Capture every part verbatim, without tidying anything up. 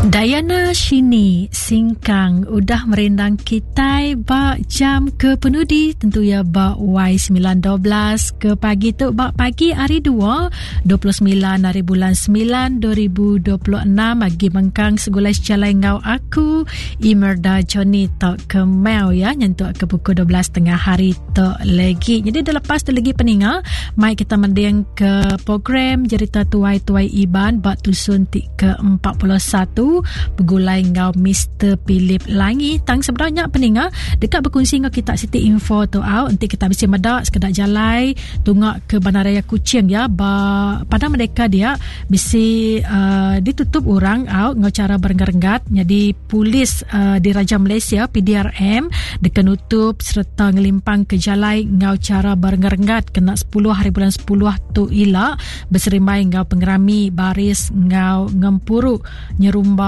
Diana Shini Singkang udah merindang kitai ba jam ke penudi tentu ya ba Y sembilan dua belas ke pagi tu ba pagi hari dua, dua puluh sembilan hari bulan sembilan dua ribu dua puluh enam agi mengkang segulai sejalai ngau aku Imerda Johnny tok ke Mel ya nyentuk ke pukul dua belas tengah hari tok lagi. Jadi dah lepas tu lagi peninga mai kita mending ke program Jerita Tuai-Tuai Iban ba tusun ti ke empat puluh satu begulai ngau Mister Philip Langi. Tang sebenarnya peninga dekat berkongsi ngau kita siti info tu au nanti kita bisa medak sekedak jalai tungak ke Bandaraya Kuching ya ba Padang Merdeka dia bisi uh, ditutup orang au ngau cara berenggat-renggat. Jadi polis uh, di Raja Malaysia P D R M dekat nutup serta ngelimpang ke jalai ngau cara berenggat-renggat kena sepuluh hari bulan sepuluh tu ila berserimbai ngau pengerami baris ngau ngempuru nyerumba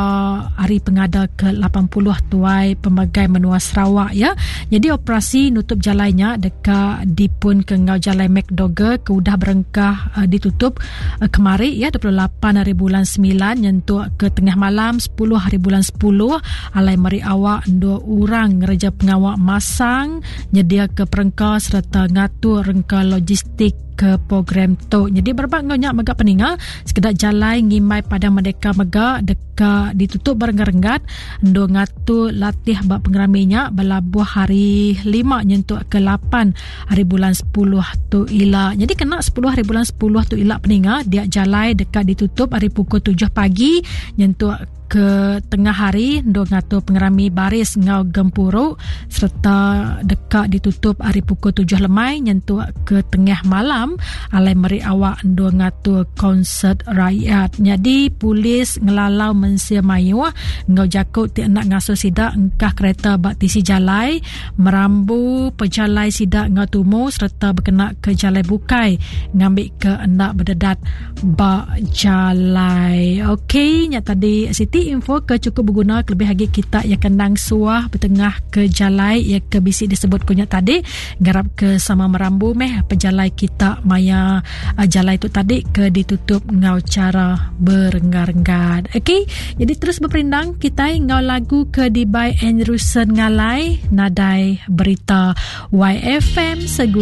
hari pengada ke lapan puluh tuai pemagai menua Sarawak ya. Jadi operasi nutup jalainya dekat dipun ke ngau jalai McDougall ke udah berengkah uh, ditutup uh, kemari ya dua puluh lapan hari bulan sembilan nyentuk ke tengah malam sepuluh hari bulan sepuluh alai meri awak dua orang ngereja pengawak masang nyedia ke perengka serta ngatur rengka logistik ke program tu. Jadi berbak ngau nyak megak peninga sekedak jalai ngimbai Padang Merdeka megak dekat ditutup berenggat-renggat ndo ngatur latih bak pengeraminya belabuh hari lima nyentuk ke lapan hari bulan sepuluh tu ila. Jadi kena sepuluh hari bulan sepuluh tu ila peninga dia jalai dekat ditutup hari pukul tujuh pagi nyentuk ke tengah hari ndo ngatur pengerami baris ngau gempuru serta dekat ditutup hari pukul tujuh lemai nyentuk ke tengah malam alai meri awak ndo ngatur konsert rakyat. Jadi polis ngelalau mensia mayuh ngau jakut ti nak ngasuh sidak engkah kereta bak tisi jalai merambu pejalai sidak ngau tumu serta berkena ke jalai bukai ngambil ke endak berdedat bak jalai. Okey, nya tadi Siti info ke cukup berguna kelebih lagi kita yang kenang suah bertengah ke jalai yang ke bisi disebut kunyit tadi garap ke sama merambu meh pejalai kita maya uh, jalai tu tadi ke ditutup ngau cara berenggar-enggar. Okey, jadi terus berperindang kita ngau lagu ke di by Andrewson Ngalai Nadai Berita Y F M segulai